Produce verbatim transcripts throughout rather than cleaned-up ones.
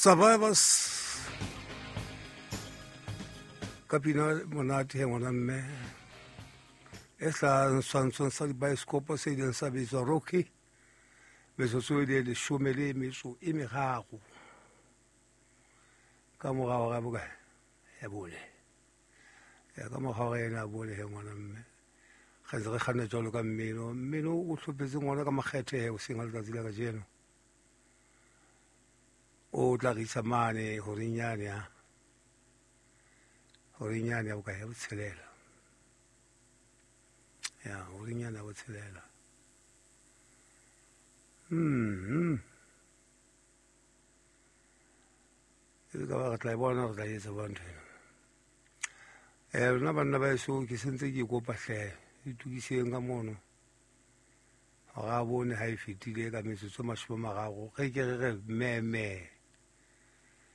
Survivors ka pina monate he ngwana mme e hlahang setshwantshong sa dibaesekopo se ileng sa bitswa Rocky, metsotso e le leshome le metso e meraro ka mora hora ya bokae ya bone. Ya ka mora hora ena ya bone he ngwana mme re ntse re kganna jwalo ka mmino. Mmino o hlophetse ngwana ka makgethe he hoseng ha letsatsi la kajeno, o tla re isa mane horeng yane ya horeng yane ya bokae ya botshelela, ya horeng yane ya botshelela. Mm e ka ba re tla e bona, re tla etsa ba ntho ena. Eh rona banna ba eso ke sentse ke kopa hle itokiseng ka mono hore a bone ha e fetile ka metsotso e mashome a mararo re ke re re meme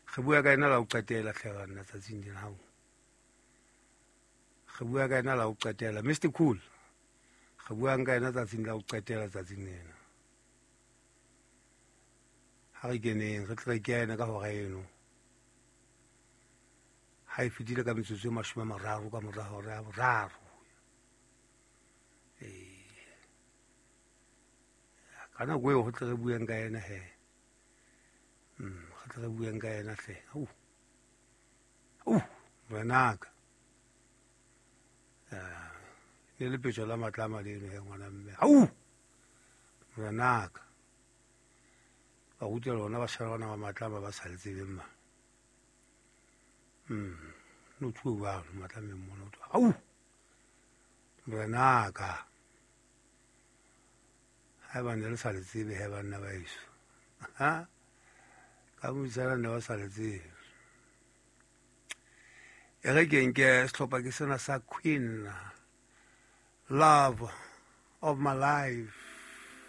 re bua ka ena la ho qetela hle banna tsatsing lena hao re bua ka ena la ho qetela Mister Cool re buang ka ena tsatsing la ho qetela tsatsing lena. Ha re keneng re tle re kene ka hora eno ha e fetile ka metsotso e mashome a mararo ka mora hora ya boraro. Eh ka nako eo ho tle re bueng ka ena he. Mm re tle re bueng ka ena hle. Au. Au, ngwanaka. Ah, ne le petjo la matlama leno he ngwana mme. Au. Ngwanaka. Ba ruta lona ba shara bana ba matlama ba sa le tsebeng ma. Mm no tshwe ba matlameng mona o. Au. Ngwanaka. Ha ba ne le sa le tsebe he banna ba eso. Ha ka motsana ne ba sa le tsebe. E re ke nke sehlopha ke sena sa Queen, Love of My Life.